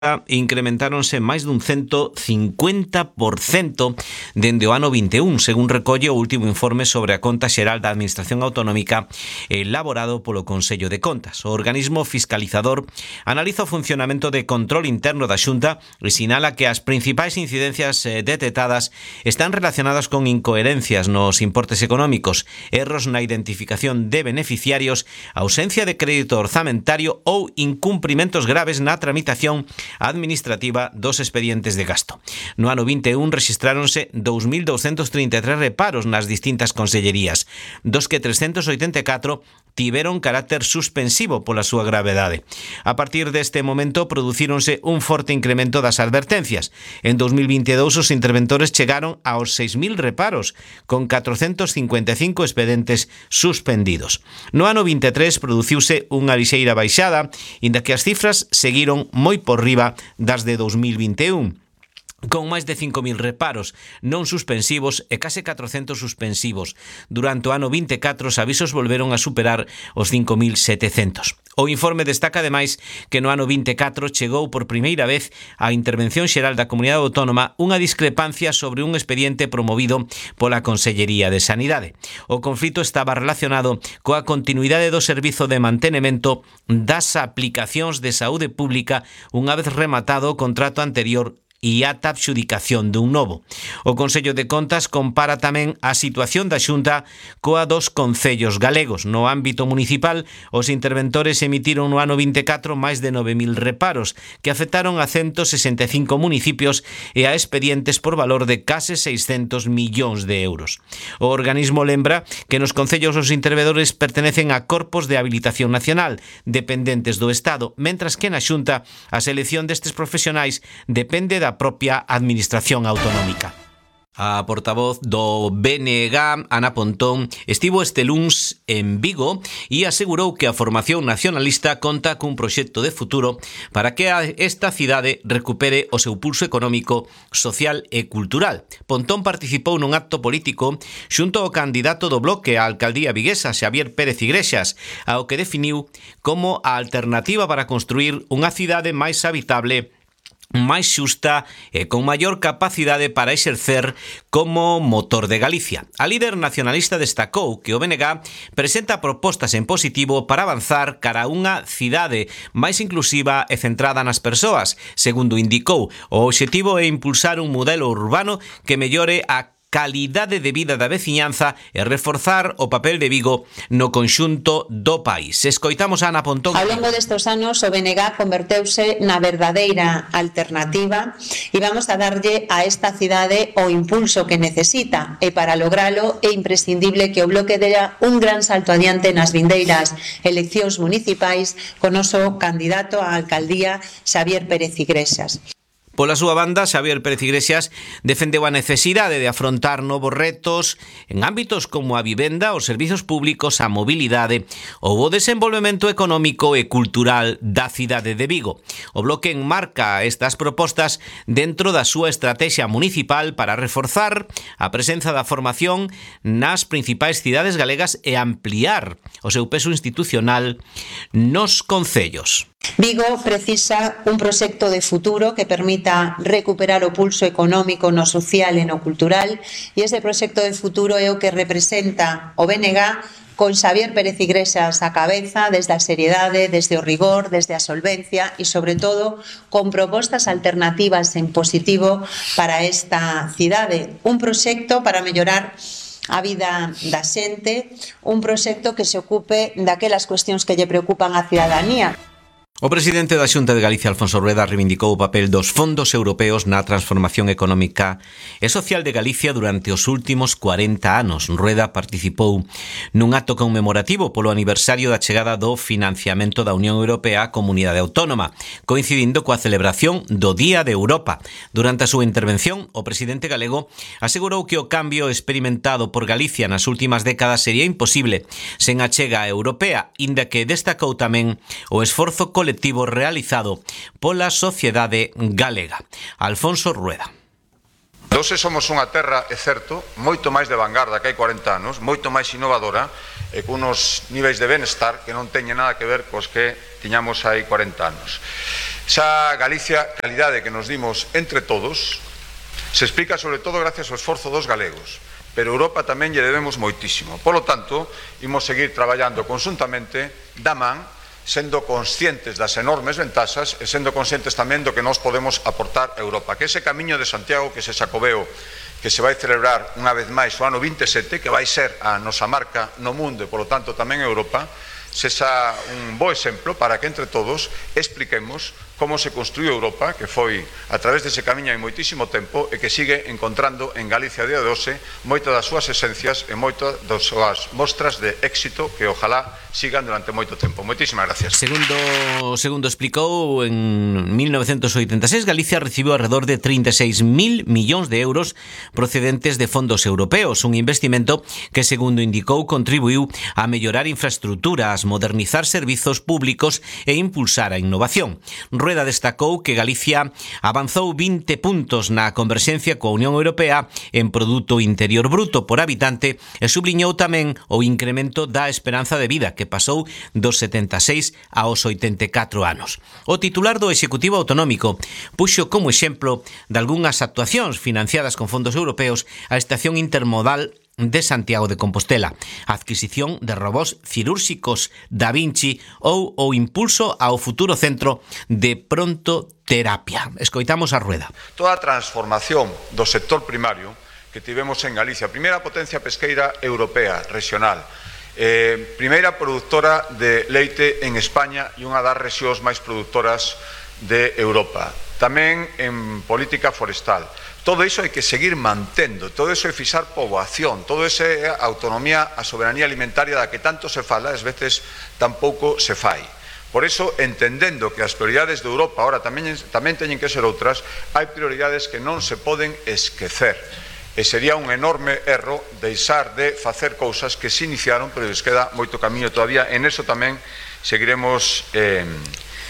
incrementáronse máis dun 150% dende o ano 21, según recolle o último informe sobre a Conta Xeral da Administración Autonómica elaborado polo Consello de Contas. O organismo fiscalizador analiza o funcionamento de control interno da Xunta e sinala que as principais incidencias detectadas están relacionadas con incoherencias nos importes económicos, erros na identificación de beneficiarios, ausencia de crédito orzamentario ou incumprimentos graves na tramitación administrativa dos expedientes de gasto. No ano 21 rexistráronse 2.233 reparos nas distintas consellerías, dos que 384 tiveron carácter suspensivo pola súa gravedade. A partir deste momento producíronse un forte incremento das advertencias. En 2022 os interventores chegaron aos 6.000 reparos, con 455 expedientes suspendidos. No ano 23 produciuse unha lixeira baixada, inda que as cifras seguiron moi por riba das de 2021. Con máis de 5.000 reparos non suspensivos e case 400 suspensivos. Durante o ano 24 os avisos volveron a superar os 5.700. O informe destaca ademais que no ano 24 chegou por primeira vez á Intervención Xeral da Comunidade Autónoma unha discrepancia sobre un expediente promovido pola Consellería de Sanidade. O conflito estaba relacionado coa continuidade do servizo de mantenimento das aplicacións de saúde pública unha vez rematado o contrato anterior e ata a adxudicación dun novo. O Consello de Contas compara tamén a situación da Xunta coa dos concellos galegos. No ámbito municipal, os interventores emitiron no ano 24 máis de 9.000 reparos, que afectaron a 165 municipios e a expedientes por valor de case 600 millóns de euros. O organismo lembra que nos concellos os interventores pertenecen a corpos de habilitación nacional, dependentes do Estado, mentras que na Xunta a selección destes profesionais depende da propia administración autonómica. A portavoz do BNG, Ana Pontón, estivo este luns en Vigo e asegurou que a formación nacionalista conta cun proxecto de futuro para que esta cidade recupere o seu pulso económico, social e cultural. Pontón participou nun acto político xunto ao candidato do Bloque á alcaldía viguesa, Xavier Pérez Iglesias, ao que definiu como a alternativa para construir unha cidade máis habitable, máis xusta e con maior capacidade para exercer como motor de Galicia. A líder nacionalista destacou que o BNG presenta propostas en positivo para avanzar cara a unha cidade máis inclusiva e centrada nas persoas. Segundo indicou, o obxectivo é impulsar un modelo urbano que mellore a calidade de vida da veciñanza e reforzar o papel de Vigo no conxunto do país. Escoitamos a Ana Pontón. Ao longo destes anos o BNG converteuse na verdadeira alternativa e vamos a darlle a esta cidade o impulso que necesita, e para logralo é imprescindible que o Bloque dea un gran salto adiante nas vindeiras eleccións municipais con o noso candidato á alcaldía, Xavier Pérez Iglesias. Pola súa banda, Xavier Pérez Iglesias defendeu a necesidade de afrontar novos retos en ámbitos como a vivenda, os servizos públicos, a mobilidade ou o desenvolvemento económico e cultural da cidade de Vigo. O Bloque enmarca estas propostas dentro da súa estrategia municipal para reforzar a presenza da formación nas principais cidades galegas e ampliar o seu peso institucional nos concellos. Vigo precisa un proxecto de futuro que permita recuperar o pulso económico no social e no cultural, e ese proxecto de futuro é o que representa o BNG con Xavier Pérez Iglesias á cabeza, desde a seriedade, desde o rigor, desde a solvencia e, sobre todo, con propostas alternativas en positivo para esta cidade. Un proxecto para mellorar a vida da xente, un proxecto que se ocupe daquelas cuestións que lle preocupan á cidadanía. O presidente da Xunta de Galicia, Alfonso Rueda, reivindicou o papel dos fondos europeos na transformación económica e social de Galicia durante os últimos 40 anos. Rueda participou nun acto conmemorativo polo aniversario da chegada do financiamento da Unión Europea á Comunidade Autónoma, coincidindo coa celebración do Día de Europa. Durante a súa intervención, o presidente galego asegurou que o cambio experimentado por Galicia nas últimas décadas sería imposible sen a chega europea, inda que destacou tamén o esforzo colectivo realizado pola sociedade galega. Alfonso Rueda. Hoxe somos unha terra, é certo, moito máis de vanguarda que hai 40 anos, moito máis innovadora e con unos niveis de benestar que non teñen nada que ver cos que tiñamos hai 40 anos. Esa Galicia calidade que nos dimos entre todos se explica sobre todo gracias ao esforzo dos galegos, pero Europa tamén lle debemos moitísimo. Polo tanto, imos seguir traballando conjuntamente da man, sendo conscientes das enormes ventaxas e sendo conscientes tamén do que nós podemos aportar a Europa. Que ese camiño de Santiago, que ese Xacobeo, que se vai celebrar unha vez máis o ano 27, que vai ser a nosa marca no mundo e, polo tanto, tamén en Europa, sexa un bo exemplo para que entre todos expliquemos como se construiu Europa, que foi a través dese camiño hai moitísimo tempo e que sigue encontrando en Galicia a día de hoxe moitas das súas esencias e moitas das súas mostras de éxito que ojalá sigan durante moito tempo. Moitísimas gracias. Segundo explicou, en 1986 Galicia recibiu alrededor de 36.000 millóns de euros procedentes de fondos europeos, un investimento que, segundo indicou, contribuiu a mellorar infraestructuras, modernizar servizos públicos e impulsar a innovación. Rueda destacou que Galicia avanzou 20 puntos na converxencia coa Unión Europea en Produto Interior Bruto por habitante e subliñou tamén o incremento da esperanza de vida, que pasou dos 76 aos 84 anos. O titular do Executivo Autonómico puxo como exemplo de algunhas actuacións financiadas con fondos europeos a estación intermodal de Santiago de Compostela, a adquisición de robós cirúrxicos Da Vinci ou o impulso ao futuro centro de prontoterapia. Escoitamos a Rueda. Toda a transformación do sector primario que tivemos en Galicia, primeira potencia pesqueira europea, regional, primeira productora de leite en España e unha das rexións máis produtoras de Europa, tamén en política forestal. Todo iso hai que seguir mantendo, todo iso é fixar poboación, todo iso é a autonomía, a soberanía alimentaria da que tanto se fala, ás veces tampouco se fai. Por iso, entendendo que as prioridades de Europa ahora tamén teñen que ser outras, hai prioridades que non se poden esquecer. E sería un enorme erro deixar de facer cousas que se iniciaron, pero les queda moito camiño todavía. En eso tamén seguiremos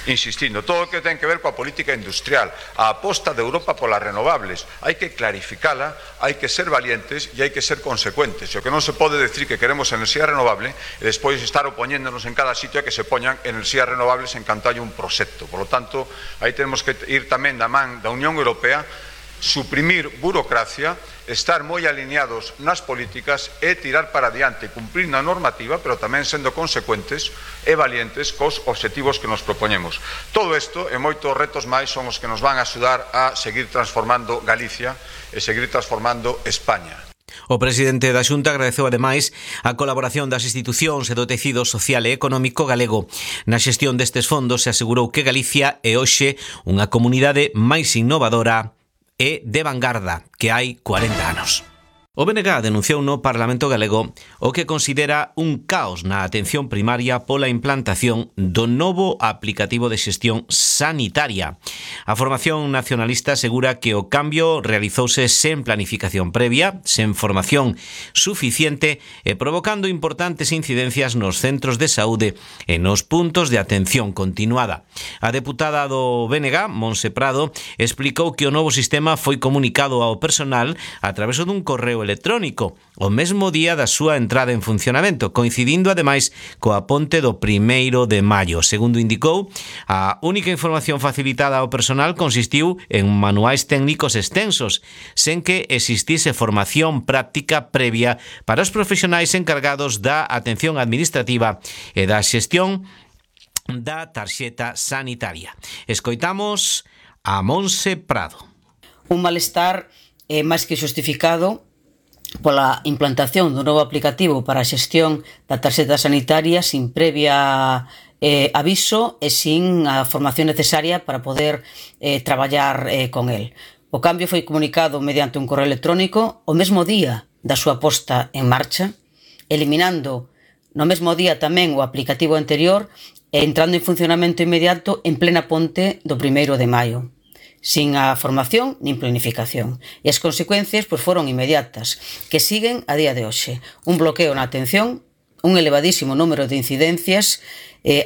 insistindo. Todo o que ten que ver coa política industrial, a aposta de Europa polas renovables, hai que clarificala, hai que ser valientes e hai que ser consecuentes. E o que non se pode decir que queremos enerxía renovable e despois estar opoñéndonos en cada sitio a que se poñan enerxías renovables en canto hai un proxecto. Por lo tanto, aí tenemos que ir tamén da man da Unión Europea, suprimir burocracia, estar moi alineados nas políticas e tirar para adiante, cumprir na normativa, pero tamén sendo consecuentes e valientes cos obxectivos que nos propoñemos. Todo isto e moitos retos máis son os que nos van a axudar a seguir transformando Galicia e seguir transformando España. O presidente da Xunta agradeceu ademais a colaboración das institucións e do tecido social e económico galego na xestión destes fondos e asegurou que Galicia é hoxe unha comunidade máis innovadora e de vanguarda que hai 40 anos. O BNG denunciou no Parlamento galego o que considera un caos na atención primaria pola implantación do novo aplicativo de xestión sanitaria. A formación nacionalista asegura que o cambio realizouse sen planificación previa, sen formación suficiente e provocando importantes incidencias nos centros de saúde e nos puntos de atención continuada. A deputada do BNG, Montse Prado, explicou que o novo sistema foi comunicado ao personal a través dun correo electrónico o mesmo día da súa entrada en funcionamento, coincidindo ademais coa ponte do 1º de maio. Segundo indicou, a única información facilitada ao personal consistiu en manuais técnicos extensos, sen que existise formación práctica previa para os profesionais encargados da atención administrativa e da xestión da tarxeta sanitaria. Escoitamos a Montse Prado. Un malestar máis que xustificado pola implantación dun novo aplicativo para a xestión da tarxeta sanitaria sin previa aviso e sin a formación necesaria para poder traballar con el. O cambio foi comunicado mediante un correo electrónico o mesmo día da súa posta en marcha, eliminando no mesmo día tamén o aplicativo anterior e entrando en funcionamento inmediato en plena ponte do 1º de maio. Sin a formación nin planificación. E as consecuencias foron inmediatas, que siguen a día de hoxe. Un bloqueo na atención, un elevadísimo número de incidencias,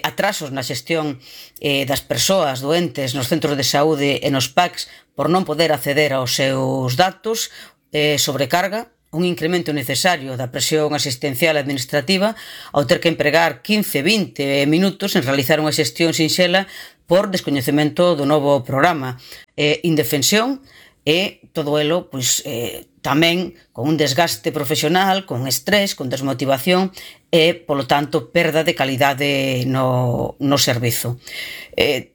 atrasos na xestión das persoas doentes nos centros de saúde e nos PACs por non poder acceder aos seus datos, sobrecarga, un incremento necesario da presión asistencial administrativa ao ter que empregar 15-20 minutos en realizar unha xestión sinxela por descoñecemento do novo programa, indefensión e todo elo tamén con un desgaste profesional, con estrés, con desmotivación e, polo tanto, perda de calidade no servizo.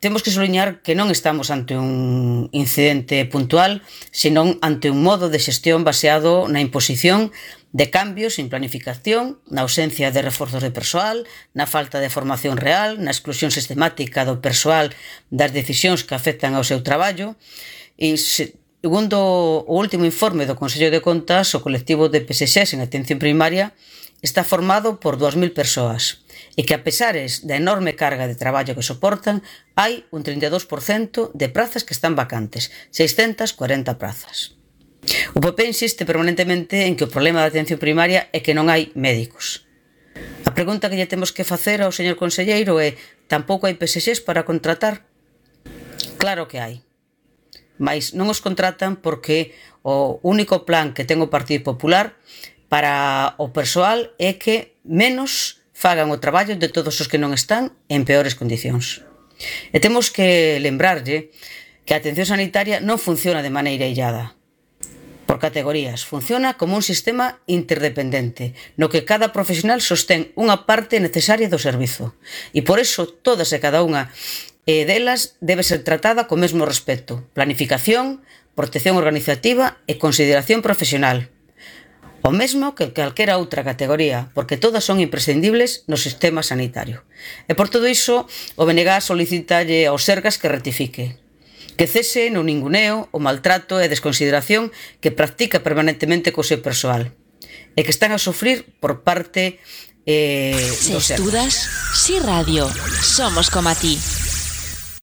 Temos que sublinhar que non estamos ante un incidente puntual, senón ante un modo de xestión baseado na imposición de cambios sin planificación, na ausencia de reforzos de persoal, na falta de formación real, na exclusión sistemática do persoal das decisións que afectan ao seu traballo. E segundo o último informe do Consello de Contas, o colectivo de PSXs en atención primaria está formado por 2.000 persoas e que, a pesares da enorme carga de traballo que soportan, hai un 32% de prazas que están vacantes, 640 prazas. O PP insiste permanentemente en que o problema da atención primaria é que non hai médicos. A pregunta que lle temos que facer ao señor conselleiro é: tampouco hai PSXs para contratar? Claro que hai. Mais non os contratan porque o único plan que ten o Partido Popular para o persoal é que menos fagan o traballo de todos os que non están en peores condicións. E temos que lembrarlle que a atención sanitaria non funciona de maneira illada, por categorías. Funciona como un sistema interdependente, no que cada profesional sostén unha parte necesaria do servizo. E por iso, todas e cada unha delas debe ser tratada co mesmo respeto, planificación, protección organizativa e consideración profesional. O mesmo que calquera outra categoría, porque todas son imprescindibles no sistema sanitario. E por todo iso, o BNG solicitalle aos Sergas que rectifique, que cese no ninguneo, o maltrato e a desconsideración que practica permanentemente co seu persoal, e que están a sufrir por parte dos Sergas. Si estudas, si radio, somos como a ti.